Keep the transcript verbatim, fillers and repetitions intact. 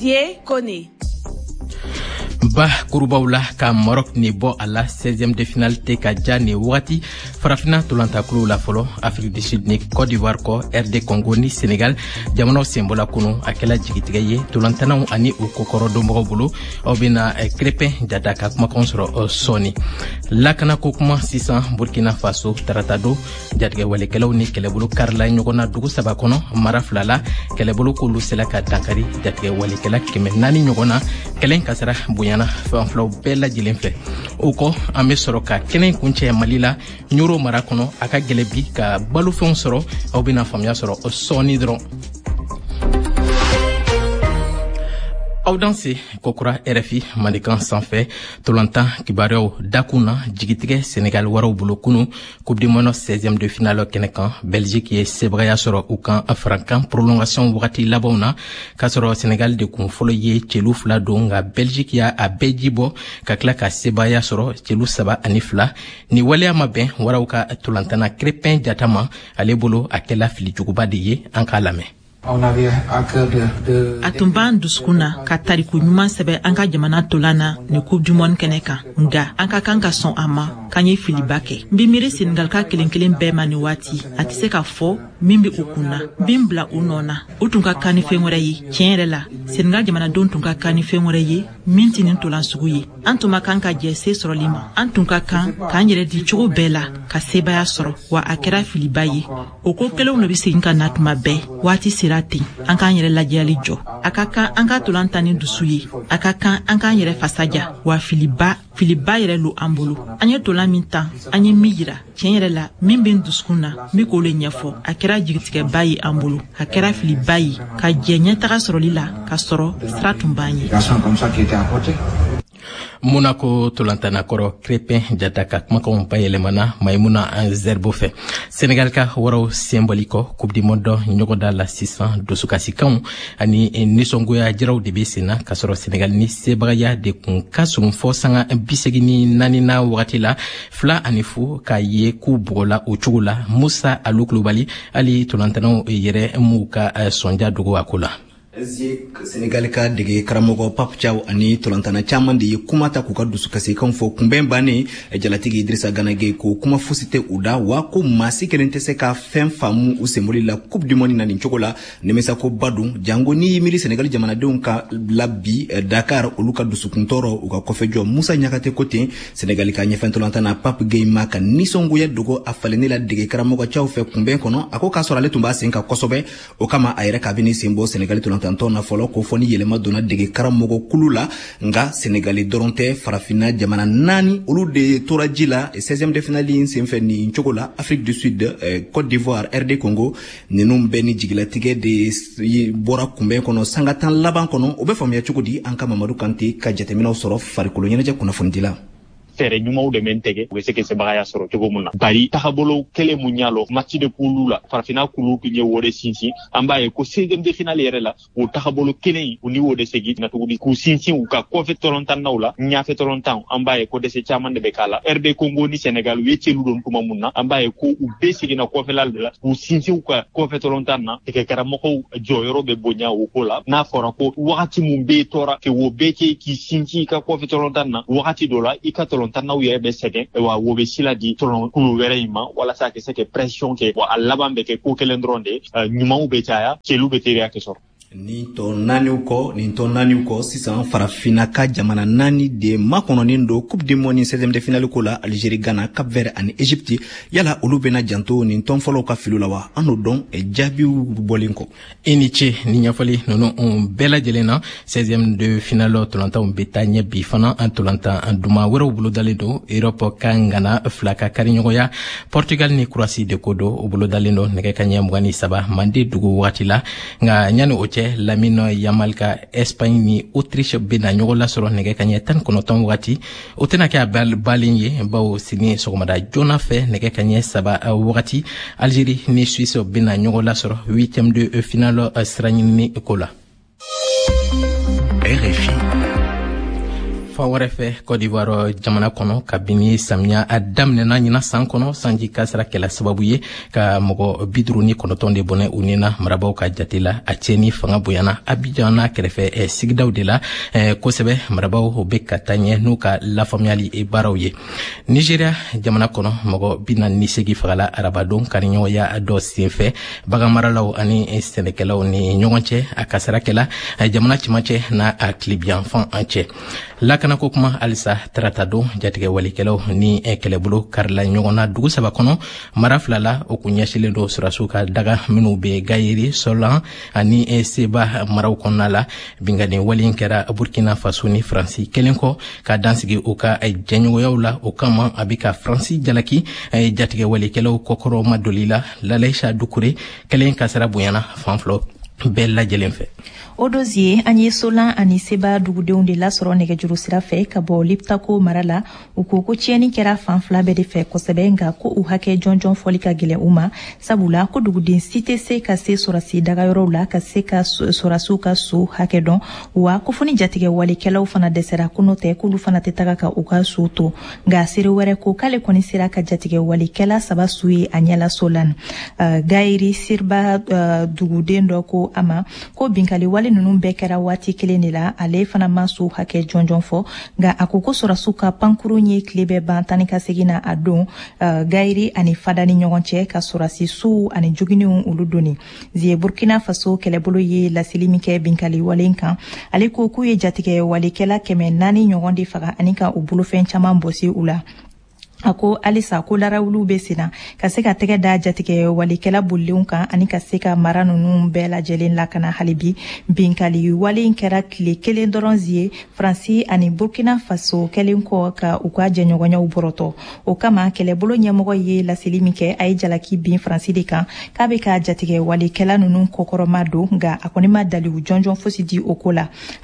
Zie Kone. Ba kurubaw la ka Maroc ni bɔ a la, seizième de finale tɛ ka ja nin wagati farafinna tolantakuluw la fɔlɔ. Afrique du Sud ni Côte d'Ivoire kɔ, R D Congo ni Sénégal jamanaw senbɔla kunu. A kɛla jigitigɛ ye tolantanaw ani u kɔkɔrɔdonbagaw bolo. Aw bena Crépin Jata ka kumakanw sɔrɔ sɔɔni. Lakanako kuma sisan. Burkina Faso, tarata don, jatigɛwalekɛlaw ni kɛlɛbolo karila ɲɔgɔn na dugu saba kɔnɔ, mara fila la. Kɛlɛbolo k'olu sela ka dankari jatigɛwalekɛla kɛmɛ naani ɲɔgɔn na. Kɛlɛ kasara bonyana fan filaw bɛɛ lajɛlen fɛ. O kɔ, an be sɔrɔ ka kɛnɛ kuncɛ Mali la, Ɲoro mara kɔnɔ. A ka gɛlɛ bi ka balofɛnw sɔrɔ. Aw bena faamuya sɔrɔ sɔɔni dɔrɔn. Aw danse kokura R F I Mandenkan sanfɛ. Tolantan kibaruyaw dakun na, jigitigɛ Senegal waraw bolo kunu Coupe du monde seizième de finale kɛnɛ kan. Belgique ye sebagaya sɔrɔ u kan farankan prolongation wagati labanw na, k'a sɔrɔ Senegal de kun fɔlɔ ye celu fila don, nka Belgique y'a a bɛɛ ji bɔ ka tila ka sebagaya sɔrɔ celu saba ani fila. Ni waleya ma bɛn waraw ka tolantana Crépin Jata ma. Ale bolo, a kɛla filijuguba de ye. An k'a lamɛn. A tun b'an dusukun na ka tariku ɲuman sɛbɛ an ka jamana tolan na ni Coupe du monde kɛnɛ kan, nga an ka kan ka sɔn a ma k'an ye filiba kɛ. N bi miiri Senegal ka kelen kelen bɛɛ ma nin waati. A tɛ se ka fɔ min be u kun na. N bi n bila u nɔ na. U tun ka kan ni fɛn wɛrɛ ye. Tiɲɛ yɛrɛ la, Senegal jamanadenw tun ka kan ni fɛn wɛrɛ ye min tɛ nin tolan sugu ye. An tun ma kan ka jɛ se sɔrɔli ma. An tun ka kan k'an yɛrɛ di cogo bɛɛ la ka sebaya sɔrɔ, wa a kɛra filiba ye. O ko kelenw de be segin ka na tuma bɛɛ. Waati sera ten, an k'an yɛrɛ lajɛyali jɔ. A ka kan an ka tolan ta ni dusu ye. A ka kan an k'an yɛrɛ fasaja, wa filiba, filiba yɛrɛ lo an bolo. An ye tolan min tan, an ye min yira, tiɲɛ yɛrɛ la, min be n dusukun na, n be k'o le ɲɛfɔ. A kɛra jigitigɛba ye an bolo. A kɛra filiba ye ka jɛ ɲɛtaga sɔrɔli la, k'a sɔrɔ sira tun b'an ye. Monaco tolantannakɔrɔ Crépin Jata ka kumakanw bayɛlɛmana Maimuna Zerbo fɛ. Senegal ka waraw senbɔli kɔ Coupe du monde ɲɔgɔnda la sisan, dusukasikanw ani nisɔngoya jiraw de be sen na, k'a sɔrɔ Senegal ni sebagaya de kun ka surun fɔ sanga bisegin ni naanina wagati la, fila ani fu, k'a ye k'u bugɔla o cogo la. Musa Alu Kulubali, hali tolantanaw yɛrɛ m'u ka sɔnja dogo a ko la. Senegali ka dege karamɔgɔ Pape Thiaw ani tolantana caman de ye kuma ta k'u ka dusukasikanw fɔ kunbɛn bannen. Jalatigi Idrissa Gana Gueye ko kuma fosi tɛ u da, wa ko maa si kelen tɛ se ka fɛn faamu u senboli la Coupe du monde na nin cogo la. Nimisako ba don, jango n'i y'i miiri Senegali jamanadenw ka la bi Dakar, olu ka dusukuntɔɔrɔ, u ka kɔfɛjɔ. Musa Ɲakate ko ten. Senegali ka ɲɛfɛ tolantana Pape Gueye ma ka nisɔngoya dogo a falenni la dege karamɔgɔ Thiaw fɛ kunbɛn kɔnɔ. A ko k'a sɔrɔ ale tun b'a sen kan kosɛbɛ, o kama a yɛrɛ k'a bɛ sen bɔ Senegali tolantantɔn na fɔlɔ, ko fɔ ni yɛlɛma donna dege karamɔgɔ kulu la. Nka Senegali dɔrɔn tɛ, farafinna jamana naani, olu de tora ji la seizième de finale in senfɛ nin cogo la: Afrique du Sud, eh, Côte d'Ivoire, R D Congo. Ninnu bɛɛ ni jigilatigɛ de bɔra kunbɛn kɔnɔ sanga tan laban kɔnɔ. O bɛ faamuya cogo di? An ka Mamadu Kante ka jateminɛw sɔrɔ farikolo ɲɛnajɛ kunnafonidila. Fɛɛrɛ ɲumanw de bɛ tigɛ, u bɛ se ka sebagaya sɔrɔ cogo mun na, bari tagabolo kelen mun y'a lɔ match de poule la, farafinna kulu tun ye o de sinsin. An b'a ye ko seizième de finale yɛrɛ la, o tagabolo kelen, u ni o de segin na tuguni k'u sinsin u ka kɔfɛ tɔlɔntannaw la, ɲafɛ tɔlɔntan. An b'a ye ko dɛsɛ caman de bɛ k'a la. R D Congo ni Sénégal, u ye celu don tuma mun na, an b'a ye ko u bɛɛ seginna kɔfɛla de la k'u sinsin u ka kɔfɛ tɔlɔntan na. Tigɛkaramɔgɔw jɔyɔrɔ bɛ bonya o ko la. N'a fɔra ko wagati mun bɛ tɔɔrɔ kɛ, o bɛɛ kɛ k'i sinsin i ka kɔfɛ tɔlɔntan na, wagati dɔ la i ka tɔlɔntannaw yɛrɛ bɛ sɛgɛn, wa wo bɛ sila di tɔlɔnkulu wɛrɛ in ma walasa ka se ka pression kɛ. Wa a laban bɛ kɛ ko kelen dɔrɔn de, ɲumanw bɛ caya, celu bɛ teriya kɛ sɔrɔ. Nin tɔ naaniw kɔ nin tɔ naaniw kɔ sisan, farafinna ka jamana naani de makɔnɔnin don Coupe du monde seizième de finale ko la: Algérie, Ghana, Cap Vert ani Égypte. Yala olu bɛna janto nin tɔn fɔlɔw ka filiw la wa? An n'o dɔn jaabiw bɔlen kɔ. I ni ce ni ɲɛfɔli ninnu bɛɛ lajɛlen na. seizième de finale tolantanw bɛ taa ɲɛ bi fana. An tolantan duman wɛrɛw bolodalen don. Europe ka ŋana fila ka kariɲɔgɔnya, Portugal ni Croatie de ko don, o bolodalen don nɛgɛ ka ɲɛ mugan ni saba mande dugu wagati la. Nka ɲani o cɛ, Lamine Yamal ka Espagne ni Autriche bɛna ɲɔgɔn lasɔrɔ nɛgɛ ka ɲɛ tan ni kɔnɔntɔn wagati. O tɛna kɛ a balen ye, bawo sini sɔgɔmada joona fɛ, nɛgɛ ka ɲɛ saba wagati, Algérie ni Suisse bɛna ɲɔgɔn lasɔrɔ huitième de finale sira ɲinini ko la. R F I. Fan wɛrɛ fɛ, Côte d'Ivoire jamana kɔnɔ, kabini samiya a daminɛna ɲina san kɔnɔ, sanji kasara kɛla sababu ye ka mɔgɔ bi duuru ni kɔnɔntɔn de bɔnɛ u ni na, marabaw ka jate la. A tiɲɛni fanga bonyana Abidjan n'a kɛrɛfɛ sigidaw de la kosɛbɛ. Marabaw bɛ ka taa ɲɛ n'u ka lafaamuyali baaraw ye. Nigeria jamana kɔnɔ, mɔgɔ bi naani ni segi fagala arabadon kariɲɔgɔnya dɔ senfɛ baganmaralaw ani sɛnɛkɛlaw ni ɲɔgɔn cɛ. A kasara kɛla jamana cɛmancɛ n'a a tilebiyanfan an cɛ. Lakanako kuma halisa, tarata don, jatigɛ walikɛlaw ni kɛlɛbolo karila ɲɔgɔn na dugu saba kɔnɔ, mara fila la. O kun ɲɛsilen don sɔrɔdasiw ka daga minw bɛ Gayeri, Sɔlan ani Seba maraw kɔnɔna la. Binkanni wale kɛra Burkina Faso ni Faransi kelen kɔ ka dansigi u ka jɛɲɔgɔnyaw la. O kama, a bɛ ka Faransi jalaki jatigɛ walikɛlaw kɔkɔrɔma doli la. Lalaisa Dukure kɛlen kasara bonyana fan filaw bɛɛ lajɛlen fɛ. O dozie, an ye Solan ani Seba dugudenw de lasɔrɔ nɛgɛjuru sira fɛ ka bɔ Liptako mara la. U ko ko tiɲɛni kɛra fan fila bɛɛ de fɛ kosɛbɛ, nka ko u hakɛ jɔnjɔn fɔli ka gɛlɛn u ma, sabula ko duguden si tɛ se ka se sɔrɔsi dagayɔrɔw la ka se ka sɔrɔsiw ka so hakɛ dɔn, wa ko fo ni jatigɛ walekɛlaw fana dɛsɛra, ko n'o tɛ k'olu fana tɛ taga ka u ka so to. Nka seere wɛrɛ ko k'ale kɔni sera ka jatigɛ walekɛla saba su ye a ɲɛla Solan. uh, gayiri Siriba uh, duguden dɔ ko a ma ko binkali wale ninnu bɛɛ kɛra waati kelen de la. Ale fana ma so hakɛ jɔnjɔn fɔ, nka a ko ko sɔrɔsiw ka pankurun ye tile bɛɛ ban tani ka segin na a don uh, Gayiri ani Fada ni ɲɔgɔn cɛ, ka sɔrɔsi sow ani jogininw olu donni zie. Burkina Faso kɛlɛbolo ye laseli min kɛ binkali wale kan, ale ko k'u ye jatigɛ walekɛla kɛmɛ naani ɲɔgɔn de faga ani ka u bolofɛn caman bɔsi u la. A ko halisa ko larawuluw bɛ senna ka se ka tɛgɛ da jatigɛ walekɛla bolilenw kan ani ka se ka mara ninnu bɛɛ lajɛlen lakana hali bi. Binkali wale in kɛra tile kelen dɔrɔn zie Faransi ani Burkina Faso kɛlen kɔ ka u ka jɛɲɔgɔnyaw bɔrɔtɔ. O kama, kɛlɛbolo ɲɛmɔgɔ ye laseli min kɛ, a ye jalaki bin Faransi de kan k'a bɛ ka jatigɛ walekɛla ninnu kɔkɔrɔma don, nka a kɔni ma dalilu jɔnjɔn fosi di o ko la.